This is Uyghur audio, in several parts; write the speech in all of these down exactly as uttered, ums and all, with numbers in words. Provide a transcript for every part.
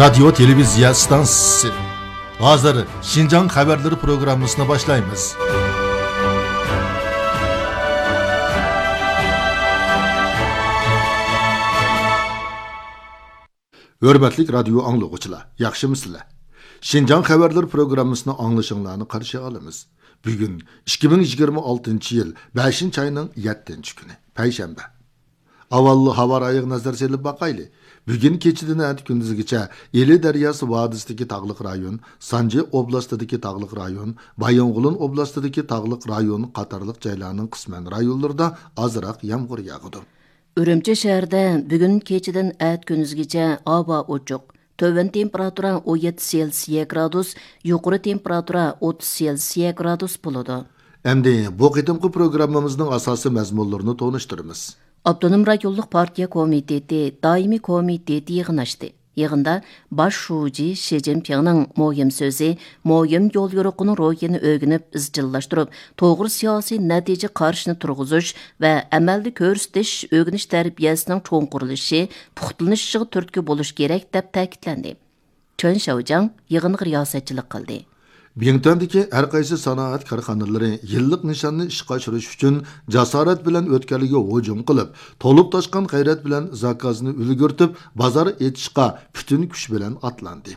رادىيو تېلېۋىزىيە ئىستانسىسى. ھازىر شىنجاڭ خەۋەرلىرى پروگراممىسىنى باشلايمىز. ھۆرمەتلىك رادىيو ئاڭلىغۇچىلار، ياخشىمۇسىلەر؟ شىنجاڭ خەۋەرلىرى پروگراممىسىنى ئاڭلىشىڭلارنى قارشى ئالىمىز. بۈگۈن ئىككى مىڭ يىگىرمە ئالتىنچى يىل بەشىنچى ئاينىڭ يەتتىنچى كۈنى، پەيشەنبە. ئاۋۋال ھاۋا رايىغا نەزەر سېلىپ باقايلى. بۈگۈن كېچىدىن ئەتە كۈندۈزگىچە ئىلى دەرياسى ۋادىسىدىكى تاغلىق رايون، سانجى ئوبلاستىدىكى تاغلىق رايون، بايىنغولىن ئوبلاستىدىكى تاغلىق رايون قاتارلىق جايلارنىڭ قىسمەن رايونلىرىدا ئازراق يامغۇر ياغىدۇ. ئۈرۈمچى شەھىرىدە بۈگۈن كېچىدىن ئەتە كۈندۈزگىچە ھاۋا ئوچۇق. تۆۋەن تېمپېراتۇرا ئون يەتتە سېلسىيە گرادۇس، يۇقىرى تېمپېراتۇرا ئوتتۇز سېلسىيە گرادۇس بولىدۇ. ئەمدى بۇ قېتىمقى پروگراممىمىزنىڭ ئاساسىي مەزمۇنلىرىنى تونۇشتۇرىمىز. ئاپتونوم رايونلۇق پارتىيە كومىتېتى دائىمىي كومىتېتى يىغىن ئاچتى. يىغىندا باش شۇجى شى جىنپىڭنىڭ مۇھىم سۆزى، مۇھىم يوليورۇقىنىڭ روھىنى ئۆگىنىپ ئىزچىللاشتۇرۇپ، توغرا سىياسىي نەتىجە قارىشىنى تۇرغۇزۇش ۋە ئەمەلدە كۆرسىتىش، ئۆگىنىش تەربىيەسىنىڭ چوڭقۇرلىشىشى، پۇختىلىنىشىغا تۈرتكە بولۇش كېرەك، دەپ تەكىتلەندى. چېن شياۋجياڭ يىغىنغا رىياسەتچىلىك قىلدى. بىڭتۈەندىكى ھەر قايسى سانائەت كارخانىلىرى يىللىق نىشاننى ئىشقا ئاشۇرۇش ئۈچۈن جاسارەت بىلەن ئۆتكەلگە ھۇجۇم قىلىپ، تولۇپ تاشقان غەيرەت بىلەن زاكازنى ئۈلگۈرتۈپ، بازار ئېچىشقا پۈتۈن كۈچ بىلەن ئاتلاندى.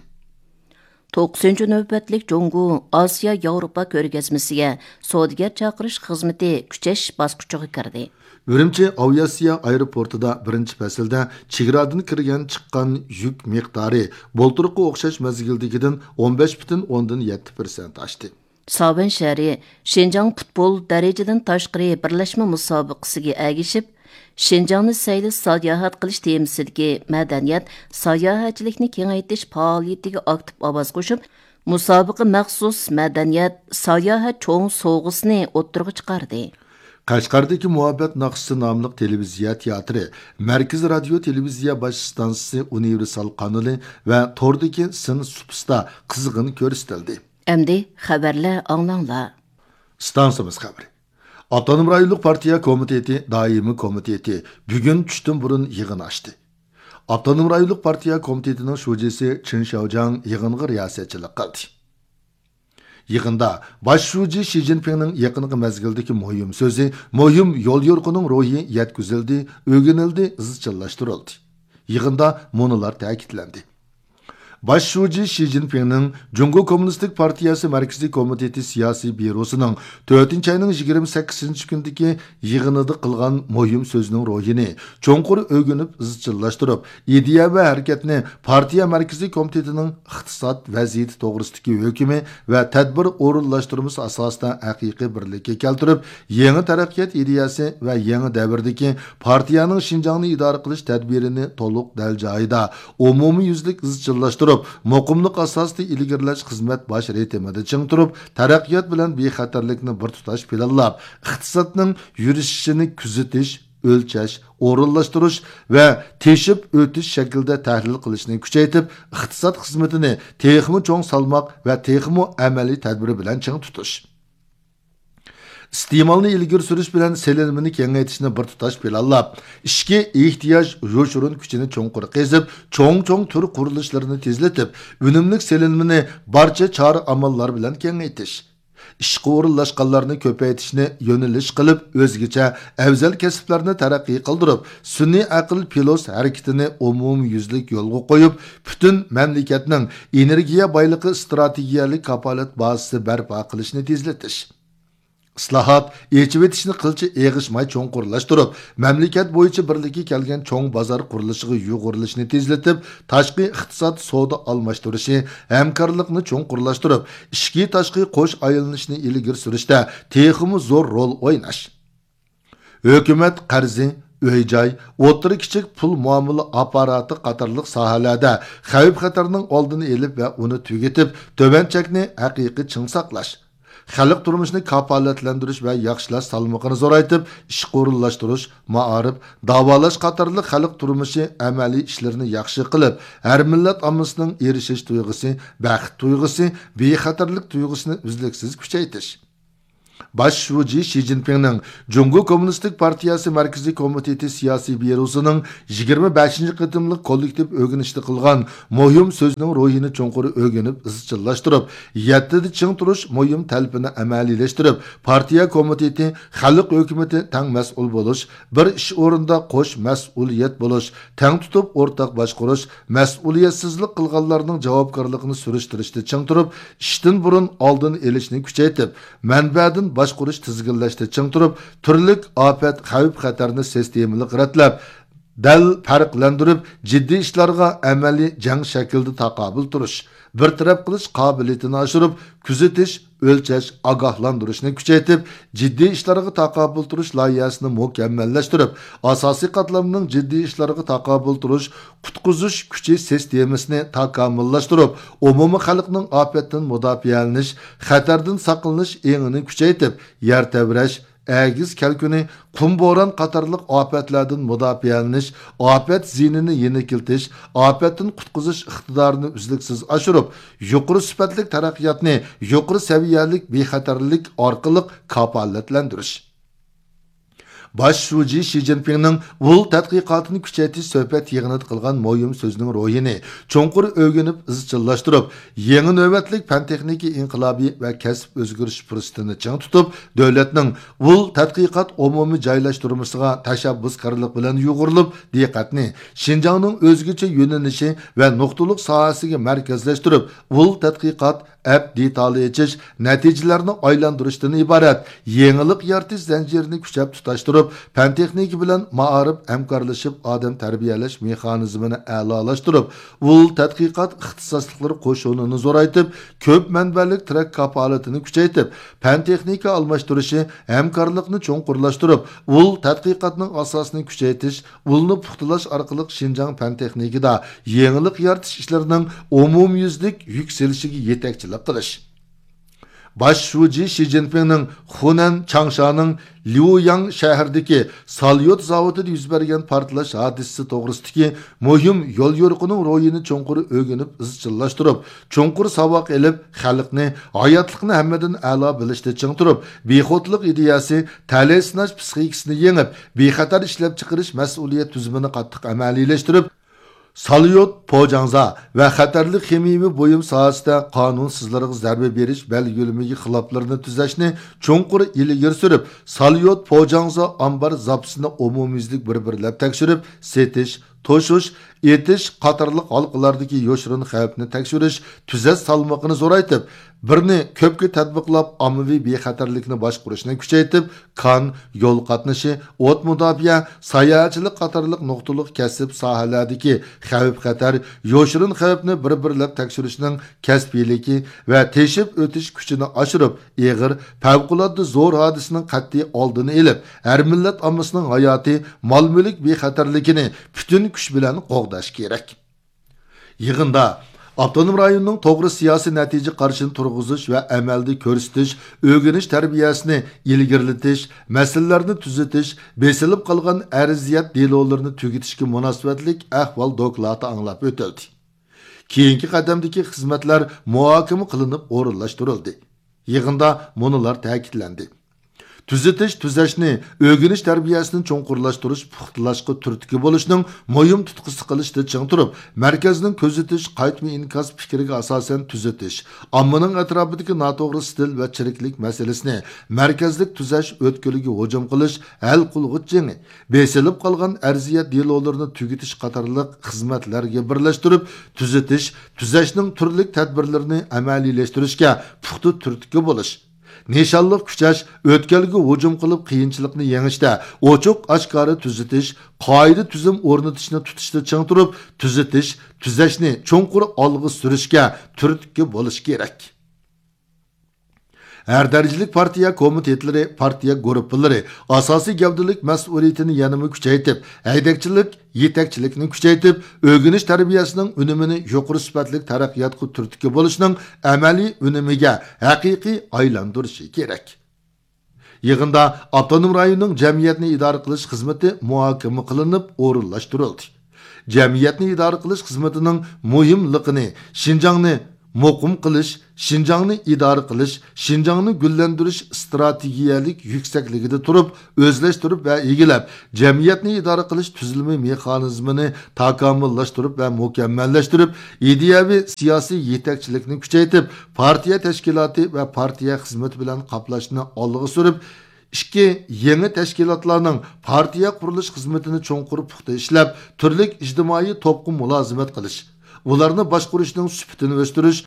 توققۇزىنچى نۆۋەتلىك جۇڭگو ئاسىيا ياۋروپا كۆرگەزمىسىگە سودىگەر چاقىرىش خىزمىتى كۈچەش باسقۇچىغا كىردى. ئۈرۈمچى ئاۋىئاتسىيە ئايروپورتىدا بىرىنچى پەسىلدە چېگرادىن كىرگەن چىققان يۈك مىقدارى بۇلتۇرقى ئوخشاش مەزگىلدىكىدىن ئون بەش پۈتۈن ئوندىن يەتتە پىرسەنت ئاشتى. ساۋەن شەھىرى شىنجاڭ پۇتبول دەرىجىدىن تاشقىرى بىرلەشمە مۇسابىقىسىگە ئەگىشىپ، شىنجاڭنى سەيلە ساياھەت قىلىش تېمىسىدىكى مەدەنىيەت، ساياھەتچىلىكنى كېڭەيتىش پائالىيىتىگە ئاكتىپ ئاۋاز قوشۇپ، مۇسابىقە مەخسۇس مەدەنىيەت، ساياھەت چوڭ سوۋغىسىنى ئوتتۇرىغا چىقاردى. قەشقەردىكى مۇھەببەت ناخشىسى ناملىق تېلېۋىزىيە تىياتىرى، مەركىزىي رادىيو تېلېۋىزىيە باش ئىستانسىسى ئۇنىۋېرسال قانىلى ۋە توردىكى سىن سۇپىسىدا قىزغىن كۆرسىتىلدى. ئەمدى خەۋەرلەر ئاڭلاڭلار. ئىستانسىمىز خەۋىرى. ئاپتونوم رايونلۇق پارتىيە كومىتېتى دائىمىي كومىتېتى بۈگۈن چۈشتىن بۇرۇن يىغىن ئاچتى. ئاپتونوم رايونلۇق پارتىيە كومىتېتىنىڭ شۇجىسى چېن شياۋجياڭ يىغىنغا رىياسەتچىلىك قىلدى. يىغىندا باش شۇجى شى جىنپىڭنىڭ يېقىنقى مەزگىلدىكى مۇھىم سۆزى، مۇھىم يوليورۇقىنىڭ روھى يەتكۈزۈلدى، ئۆگىنىلدى، ئىزچىللاشتۇرۇلدى. يىغىندا مۇنۇلار تەكىتلەندى. باش شۇجى شى جىنپىڭنىڭ جۇڭگو كوممۇنىستىك پارتىيەسى مەركىزىي كومىتېتى سىياسىي بيۇروسىنىڭ تۆتىنچى ئاينىڭ يىگىرمە سەككىزىنچى كۈنىدىكى يىغىنىدا قىلغان مۇھىم سۆزىنىڭ روھىنى چوڭقۇر ئۆگىنىپ ئىزچىللاشتۇرۇپ، ئىدىيە ۋە ھەرىكەتنى پارتىيە مەركىزىي كومىتېتىنىڭ ئىقتىساد ۋەزىيىتى توغرىسىدىكى ھۆكمى ۋە تەدبىر ئورۇنلاشتۇرمىسى ئاساسىدا ھەقىقىي بىرلىككە كەلتۈرۈپ، يېڭى تەرەققىيات ئىدىيەسى ۋە يېڭى دەۋردىكى پارتىيەنىڭ شىنجاڭنى ئىدارە قىلىش تەدبىرىنى تولۇق دەل جايىدا، ئومۇميۈزلۈك ئىزچىللاشتۇرۇپ، مۇقىملىق ئاساسىدا ئىلگىرىلەش خىزمەت باش رىتىمىدا چىڭ تۇرۇپ، تەرەققىيات بىلەن بىخەتەرلىكنى بىر تۇتاش پىلانلاپ، ئىقتىسادنىڭ يۈرۈشۈشىنى كۆزىتىش، ئۆلچەش، ئورۇنلاشتۇرۇش ۋە تېشىپ ئۆتۈش شەكلىدە تەھلىل قىلىشنى كۈچەيتىپ، ئىقتىساد خىزمىتىنى تېخىمۇ چوڭ سالماق ۋە تېخىمۇ ئەمەلىي تەدبىر بىلەن چىڭ تۇتۇش. ئىستېمالنى ئىلگىرى سۈرۈش بىلەن سېلىنمىنى كېڭەيتىشنى بىر تۇتاش پىلانلاپ، ئىچكى ئېھتىياج يوشۇرۇن كۈچىنى چوڭقۇر قېزىپ، چوڭ-چوڭ تۈر قۇرۇلۇشلىرىنى تېزلىتىپ، ئۈنۈملۈك سېلىنمىنى بارچە چارە-ئاماللار بىلەن كېڭەيتىش. ئىشقا ئورۇنلاشقانلارنى كۆپەيتىشنى يۆنىلىش قىلىپ، ئۆزگىچە ئەۋزەل كەسىپلەرنى تەرەققىي قىلدۇرۇپ، سۈنئىي ئەقىل پىلوس ھەرىكىتىنى ئومۇميۈزلۈك يولغا قويۇپ، پۈتۈن مەملىكەتنىڭ ئېنېرگىيە بايلىقى ئىستراتېگىيەلىك كاپالەت بازىسى بەرپا قىلىشنى تېزلىتىش. ئىسلاھات، ئېچىۋېتىشنى قىلچە ئېغىشماي چوڭقۇرلاشتۇرۇپ، مەملىكەت بويىچە بىرلىككە كەلگەن چوڭ بازار قۇرۇلۇشىغا يۇغۇرۇلۇشنى تېزلىتىپ، تاشقى ئىقتىساد سودا ئالماشتۇرۇشى، ھەمكارلىقنى چوڭقۇرلاشتۇرۇپ، ئىچكى تاشقى قوش ئايلىنىشنى ئىلگىرى سۈرۈشتە تېخىمۇ زور رول ئويناش. ھۆكۈمەت قەرزى، ئۆي-جاي، ئوتتۇرا، كىچىك پۇل مۇئامىلە ئاپپاراتى قاتارلىق ساھەلەردە خەۋپ-خەتەرنىڭ ئالدىنى ئېلىپ ۋە ئۇنى تۈگىتىپ، تۆۋەن چەكنى ھەقىقىي چىڭ ساقلاش. خەلق تۇرمۇشىنى كاپالەتلەندۈرۈش ۋە ياخشىلاش سالمىقىنى زورايتىپ، ئىشقا ئورۇنلاشتۇرۇش، مائارىپ، داۋالاش قاتارلىق خەلق تۇرمۇشى ئەمەلىي ئىشلىرىنى ياخشى قىلىپ، ھەر مىللەت ئاممىسىنىڭ ئېرىشىش تۇيغۇسى، بەخت تۇيغۇسى، بىخەتەرلىك تۇيغۇسىنى ئۈزلۈكسىز كۈچەيتىش. باش شۇجى شى جىنپىڭنىڭ جۇڭگو كوممۇنىستىك پارتىيەسى مەركىزىي كومىتېتى سىياسىي بيۇروسىنىڭ يىگىرمە بەشىنچى قېتىملىق كوللېكتىپ ئۆگىنىشتە قىلغان مۇھىم سۆزىنىڭ روھىنى چوڭقۇر ئۆگىنىپ ئىزچىللاشتۇرۇپ، يەتتىدە چىڭ تۇرۇش مۇھىم تەلىپىنى ئەمەلىيلەشتۈرۈپ، پارتىيە كومىتېتى، خەلق ھۆكۈمىتى تەڭ مەسئۇل بولۇش، بىر ئىش ئورنىدا قوش مەسئۇلىيەت بولۇش، تەڭ تۇتۇپ ئورتاق باشقۇرۇش، مەسئۇلىيەتسىزلىك قىلغانلارنىڭ جاۋابكارلىقىنى سۈرۈشتۈرۈشتە چىڭ تۇرۇپ، ئىشتىن بۇرۇن ئالدىنى ئېلىشنى كۈچەيتىپ، مەنبەدىن باشقۇرۇش تىزگىنلەشتە چىڭ تۇرۇپ، تۈرلۈك ئاپەت، خەۋپ-خەتەرنى سىستېمىلىق رەتلەپ، دەل پەرقلەندۈرۈپ، جىددىي ئىشلارغا ئەمەلىي جەڭ شەكلىدە تاقابىل تۇرۇش، بىر تەرەپ قىلىش قابىلىيىتىنى ئاشۇرۇپ، كۆزىتىش، ئۆلچەش، ئاگاھلاندۇرۇشنى كۈچەيتىپ، جىددىي ئىشلارغا تاقابىل تۇرۇش لايىھەسىنى مۇكەممەللەشتۈرۈپ، ئاساسىي قاتلامنىڭ جىددىي ئىشلارغا تاقابىل تۇرۇش، قۇتقۇزۇش كۈچى سىستېمىسىنى تاكامۇللاشتۇرۇپ، ئومۇمىي خەلقنىڭ ئاپەتتىن مۇداپىئەلىنىش، خەتەردىن ساقلىنىش ئېڭىنى كۈچەيتىپ، يەر تەۋرەش، ئەگىز كەلكۈنى، قۇم بوران قاتارلىق ئاپەتلەردىن مۇداپىئەلىنىش، ئاپەت زىيىنىنى يېنىكلىتىش، ئاپەتتىن قۇتقۇزۇش ئىقتىدارىنى ئۈزلۈكسىز ئاشۇرۇپ، يۇقىرى سۈپەتلىك تەرەققىياتنى يۇقىرى سەۋىيەلىك بىخەتەرلىك ئارقىلىق كاپالەتلەندۈرۈش. باش شۇجى شى جىنپىڭنىڭ ئۇل تەتقىقاتىنى كۈچەيتىش سۆھبەت يىغىنىدا قىلغان مۇھىم سۆزىنىڭ روھىنى چوڭقۇر ئۆگىنىپ ئىزچىللاشتۇرۇپ، يېڭى نۆۋەتلىك پەن تېخنىكا ئىنقىلابى ۋە كەسىپ ئۆزگىرىش پۇرسىتىنى چىڭ تۇتۇپ، دۆلەتنىڭ ئۇل تەتقىقات ئومۇمىي جايلاشتۇرمىسىغا تەشەببۇسكارلىق بىلەن يۇغۇرۇلۇپ، دىققەتنى شىنجاڭنىڭ ئۆزگىچە يۆنىلىشى ۋە نۇقتىلىق ساھەسىگە مەركەزلەشتۈرۈپ، ئۇل تەتقىقات ئەپ دېتالى ئېچىش، نەتىجىلەرنى ئايلاندۇرۇشتىن ئىبارەت يېڭىلىق يارىتىش زەنجىرىنى كۈچەپ تۇتاشتۇرۇپ، پەن تېخنىكا بىلەن مائارىپ ھەمكارلىشىپ ئادەم تەربىيەلەش مېخانىزمىنى ئەلالاشتۇرۇپ، ئۇل تەتقىقات ئىختىساسلىقلىرى قوشۇنىنى زورايتىپ، كۆپ مەنبەلىك تىرەك كاپالىتىنى كۈچەيتىپ، پەن تېخنىكا ئالماشتۇرۇشى ھەمكارلىقنى چوڭقۇرلاشتۇرۇپ، ئۇل تەتقىقاتنىڭ ئاساسىنى كۈچەيتىش، ئۇلنى پۇختىلاش ئارقىلىق شىنجاڭ پەن تېخنىكىدا يېڭىلىق يارىتىش ئىشلىرىنىڭ ئومۇميۈزلۈك يۈكسىلىشىگە يېتەكچىلىك قىلىش. باش شۇجى شى جىنپىڭنىڭ خۇنەن چاڭشانىڭ ليۇياڭ شەھىرىدىكى ساليۇت زاۋۇتىدا يۈز بەرگەن پارتلاش ھادىسىسى توغرىسىدىكى مۇھىم يوليورۇقىنىڭ روھىنى چوڭقۇر ئۆگىنىپ ئىزچىللاشتۇرۇپ، چوڭقۇر ساۋاق ئېلىپ، خەلقنى، ھاياتلىقنى ھەممىدىن ئەلا بىلىشتە چىڭ تۇرۇپ، بىخۇدلۇق ئىدىيەسى، تەلەي سىناش پىسخىكىسىنى يېڭىپ، بىخەتەر ئىشلەپچىقىرىش مەسئۇلىيەت تۈزۈمىنى قاتتىق ئەمەلىيلەشتۈرۈپ، ساليۇت پوجاڭزا ۋە خەتەرلىك خىمىيەۋى بۇيۇم ساھەسىدە قانۇنسىزلارغا زەربە بېرىش بەلگىلىمىگە خىلاپلىرىنى تۈزەشنى چوڭقۇر ئىلگىرى سۈرۈپ، ساليۇت پوجاڭزا ئامبار زاپىسىنى ئومۇميۈزلۈك بىر بىرلەپ تەكشۈرۈپ، سېتىش، توشۇش، ئېتىش قاتارلىق ھالقىلاردىكى يوشۇرۇن خەۋپنى تەكشۈرۈش، تۈزەش سالمىقىنى زورايتىپ، بىرنى كۆپكە تەتبىقلاپ، ئاممىۋى بىخەتەرلىكنى باشقۇرۇشنى كۈچەيتىپ، كان، يول قاتنىشى، ئوت مۇداپىئە، ساياھەتچىلىك قاتارلىق نۇقتىلىق كەسىپ ساھەلەردىكى خەۋپ-خەتەر، يوشۇرۇن خەۋپنى بىر بىرلەپ تەكشۈرۈشنىڭ كەسپىيلىكى ۋە تېشىپ ئۆتۈش كۈچىنى ئاشۇرۇپ، ئېغىر، پەۋقۇلئاددە زور ھادىسىنىڭ قەتئىي ئالدىنى ئېلىپ، ھەر مىللەت ئاممىسىنىڭ ھاياتى، مال-مۈلۈك بىخەتەرلىكىنى پۈتۈن كۈچ بىلەن قوغداش كېرەك. يىغىندا ئاپتونوم رايوننىڭ توغرا سىياسىي نەتىجە قارىشىنى تۇرغۇزۇش ۋە ئەمەلدە كۆرسىتىش، ئۆگىنىش تەربىيەسىنى ئىلگىرىلىتىش، مەسىلىلەرنى تۈزىتىش، بېسىلىپ قالغان ئەرزىيەت دېلولىرىنى تۈگىتىشكە مۇناسىۋەتلىك ئەھۋال دوكلاتى ئاڭلاپ ئۆتۈلدى. كېيىنكى قەدەمدىكى خىزمەتلەر مۇھاكىمە قىلىنىپ ئورۇنلاشتۇرۇلدى. يىغىندا مۇنۇلار تەكىتلەندى. تۈزىتىش، تۈزەشنى، ئۆگىنىش تەربىيەسىنى چوڭقۇرلاشتۇرۇش، پۇختىلاشقا تۈرتكە بولۇشنىڭ مۇھىم تۇتقىسى قىلىشتا چىڭ تۇرۇپ، مەركەزنىڭ كۆزىتىش، قايتما ئىنكاس پىكرىگە ئاساسەن تۈزىتىش، ئاممىنىڭ ئەتراپىدىكى ناتوغرا ئىستىل ۋە چىرىكلىك مەسىلىسىنى مەركەزلىك تۈزەش ئۆتكىلىگە ھۇجۇم قىلىش، ھەل قىلغۇچ جېڭى، بېسىلىپ قالغان ئەرزىيەت دېلولىرىنى تۈگىتىش قاتارلىق خىزمەتلەرگە بىرلەشتۈرۈپ، تۈزىتىش، تۈزەشنىڭ تۈرلۈك تەدبىرلىرىنى ئەمەلىيلەشتۈرۈشكە پۇختا تۈرتكە بولۇش، نىشانلىق كۈچەش، ئۆتكەلگە ھۇجۇم قىلىپ قىيىنچىلىقنى يېڭىشتە ئوچۇق ئاشكارا تۈزىتىش، قائىدە تۈزۈم ئورنىتىشنى تۇتۇشتا چىڭ تۇرۇپ، تۈزىتىش، تۈزەشنى چوڭقۇر ئالغا سۈرۈشكە تۈرتكە بولۇش كېرەك. ھەر دەرىجىلىك پارتىيە كومىتېتلىرى، پارتىيە گۇرۇپپىلىرى ئاساسىي گەۋدىلىك مەسئۇلىيىتىنى يەنىمۇ كۈچەيتىپ، ھەيدەكچىلىك، يېتەكچىلىكنى كۈچەيتىپ، ئۆگىنىش تەربىيەسىنىڭ ئۈنۈمىنى يۇقىرى سۈپەتلىك تەرەققىياتقا تۈرتكە بولۇشنىڭ ئەمەلىي ئۈنۈمىگە ھەقىقىي ئايلاندۇرۇشى كېرەك. يىغىندا ئاپتونوم رايوننىڭ جەمئىيەتنى ئىدارە قىلىش خىزمىتى مۇھاكىمە قىلىنىپ ئورۇنلاشتۇرۇلدى. جەمئىيەتنى ئىدارە قىلىش خىزمىتىنىڭ مۇھىملىقىنى، شىنجاڭنى مۇقىم قىلىش، شىنجاڭنى ئىدارە قىلىش، شىنجاڭنى گۈللەندۈرۈش ئىستراتېگىيەلىك يۈكسەكلىكىدە تۇرۇپ ئۆزلەشتۈرۈپ ۋە ئىگىلەپ، جەمئىيەتنى ئىدارە قىلىش تۈزۈلمە مېخانىزمىنى تاكامۇللاشتۇرۇپ ۋە مۇكەممەللەشتۈرۈپ، ئىدىيەۋى سىياسىي يېتەكچىلىكنى كۈچەيتىپ، پارتىيە تەشكىلاتى ۋە پارتىيە خىزمىتى بىلەن قاپلاشنى ئالغا سۈرۈپ، ئىككى، يېڭى تەشكىلاتلارنىڭ پارتىيە قۇرۇلۇش خىزمىتىنى چوڭقۇر پۇختا ئىشلەپ، تۈرلۈك ئىجتىمائىي توپقا مۇلازىمەت قىلىش، ئۇلارنى باشقۇرۇشنىڭ سۈپىتىنى ئۆستۈرۈش،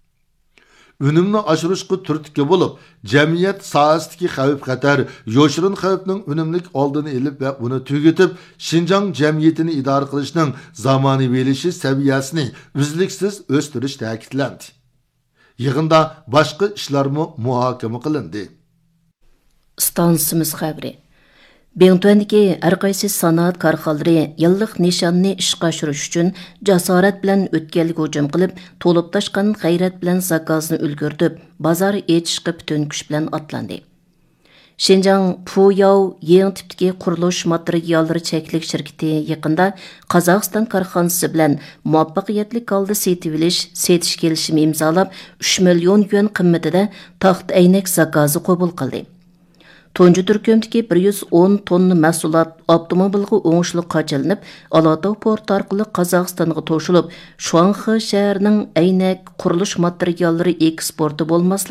ئۈنۈمنى ئاشۇرۇشقا تۈرتكە بولۇپ، جەمئىيەت ساھەسىدىكى خەۋپ-خەتەر، يوشۇرۇن خەۋپنىڭ ئۈنۈملۈك ئالدىنى ئېلىپ ۋە ئۇنى تۈگىتىپ، شىنجاڭ جەمئىيىتىنى ئىدارە قىلىشنىڭ زامانىۋىلىشىش سەۋىيەسىنى ئۈزلۈكسىز ئۆستۈرۈش تەكىتلەندى. يىغىندا باشقا ئىشلارمۇ مۇھاكىمە قىلىندى. ئىستانسىمىز خەۋىرى. بىڭتۈەندىكى ھەر قايسى سانائەت كارخانىلىرى يىللىق نىشاننى ئىشقا ئاشۇرۇش ئۈچۈن جاسارەت بىلەن ئۆتكەلگە ھۇجۇم قىلىپ، تولۇپ تاشقان غەيرەت بىلەن زاكازنى ئۈلگۈرتۈپ، بازار ئېچىشقا پۈتۈن كۈچ بىلەن ئاتلاندى. شىنجاڭ پۇياۋ يېڭى تىپتىكى قۇرۇلۇش ماتېرىياللىرى چەكلىك شىركىتى يېقىندا قازاقىستان كارخانىسى بىلەن مۇۋەپپەقىيەتلىك ھالدا سېتىۋېلىش، سېتىش كېلىشىمى ئىمزالاپ، ئۈچ مىليون يۈەن قىممىتىدە تاختا ئەينەك زاكازى قوبۇل قىلدى. تۇنجى تۈركۈمدىكى بىر يۈز ئون توننا مەھسۇلات ئاپتوموبىلغا ئوڭۇشلۇق قاچىلىنىپ، ئالاتاۋ پورتى ئارقىلىق قازاقىستانغا توشۇلۇپ، شۇاڭخې شەھىرىنىڭ ئەينەك، قۇرۇلۇش ماتېرىياللىرى ئېكسپورتى بولماسلىق